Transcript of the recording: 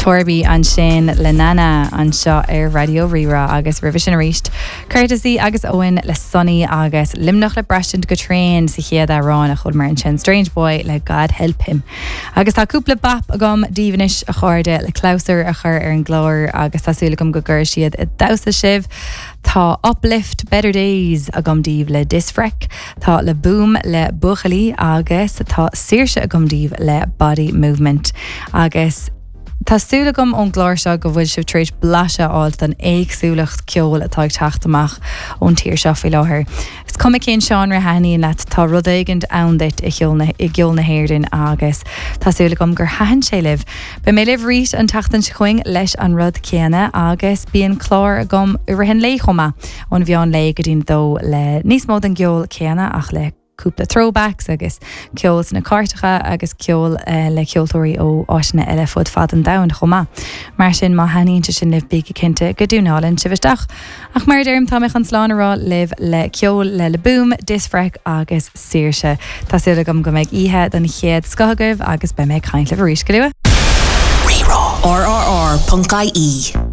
Torby ansin le Nana anseo ar Raidió Rí-Rá agus roimhe sin arís Courtesy agus Eoin le Sonny agus Luimneach le braistint go tréan sa chéad amhrán a chualamar ansin Strange Boy le God Help Him. Agus tá cúpla bap agam daoibh anois a chairde le clabhsúr a chur ar an gclár agus tá súil agam go gcuirfidh siad ag damhsa sibh. Tá Uplift Better Days agam daoibh le Disfrek, tá Le Boom le Buachaillí agus tá Saoirse agam daoibh le Body Movement. Agus tá súil agam ón gclár seo go bhfuil sibh tar éis blaiseadh a fháilt den éagsúlacht ceoil atá ag teacht amach ón tír seo faoi láthair. Is cuma cén seánra a thaitníonn leat, tá rud éigint ann duit i gceol na hÉireann agus tá súil agam gur thaitin sé libh. Beidh mé libh arís an tseachtain seo chugainn leis an rud céanna agus bíonn clár agam i rith an lae chomh maith, ón mheán lae go dtí'n dó le níos mó den gceol céanna ach le cúpla throwbacks agus ceol sna cairteacha agus ceol le ceoltóirí ó áiteanna eile fud fad an domhain chomh maith. Mar sin má thaitníonn sé sin libh bígí cinnte go dtiúnálann sibh isteach. Ach mar a deirim, tá mé chun slán a rá libh le ceol le Le Boom, Disfrek agus Saoirse. Tá súil agam go mbeidh oíche den chéad scoth agaibh agus beidh mé ag caint libh arís go luath. Rí-Rá. RRR.ie.